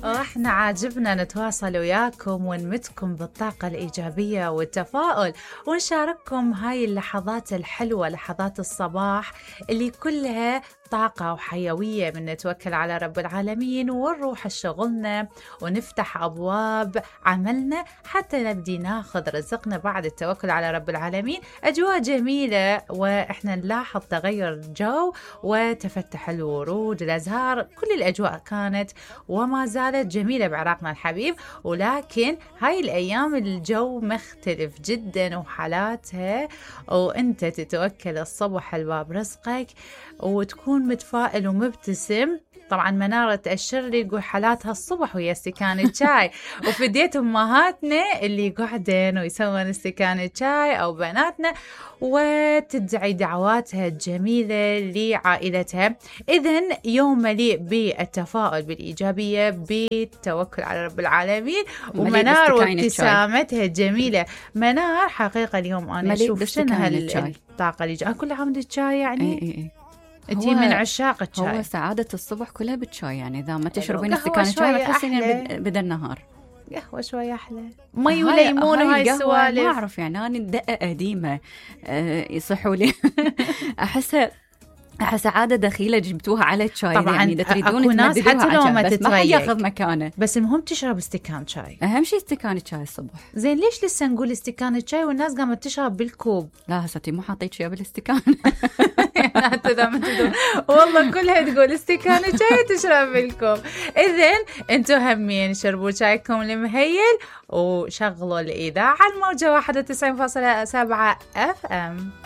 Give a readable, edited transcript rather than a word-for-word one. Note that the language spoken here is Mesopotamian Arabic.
واحنا عاجبنا نتواصل وياكم ونمدكم بالطاقة الإيجابية والتفاؤل ونشارككم هاي اللحظات الحلوة، لحظات الصباح اللي كلها طاقة وحيوية من نتوكل على رب العالمين ونروح شغلنا ونفتح أبواب عملنا حتى نبدي ناخذ رزقنا بعد التوكل على رب العالمين. أجواء جميلة وإحنا نلاحظ تغير الجو وتفتح الورود الأزهار، كل الأجواء كانت وما زالت جميلة بعراقنا الحبيب. ولكن هاي الأيام الجو مختلف جدا وحالاتها، وأنت تتوكل الصبح الباب رزقك وتكون متفائل ومبتسم. طبعا منارة تأشر لي يقول حالاتها الصبح ويا استكان شاي، وفديت أمهاتنا اللي قاعدين ويسوون استكان شاي أو بناتنا وتدعي دعواتها الجميلة لعائلتها. إذن يوم مليء بالتفاؤل بالإيجابية بالتوكل على رب العالمين. ومنار وابتسامتها الجميلة. منار حقيقة اليوم أنا أشوف شنها الطاقة اللي جاء. كل عام الشاي يعني انتي من عشاق الشاي. هو سعادة الصبح كلها بالشاي، يعني إذا ما تشربين استكان شاي تحسين بدا النهار. قهوة شوية أحلى، مي وليمون وهاي السوالف. ما أعرف يعني أنا دقة قديمة يصحوا لي أحس عادة دخيلة جبتوها على الشاي. طبعا يعني إذا تريدون ناس حتى لو ما بس ما ياخذ مكانه، بس المهم تشرب استكان شاي. أهم شيء استكان الشاي الصبح. زين ليش لسه نقول استكان الشاي والناس قامت تشرب بالكوب؟ لا هساتي مو حاطيت شيء بالاستكان. والله كلها تقول استكان الشاي تشرب بالكوب. إذن أنتوا همين شربوا شايكم المهيل وشغلوا الإذاعة على الموجة 91.7 FM.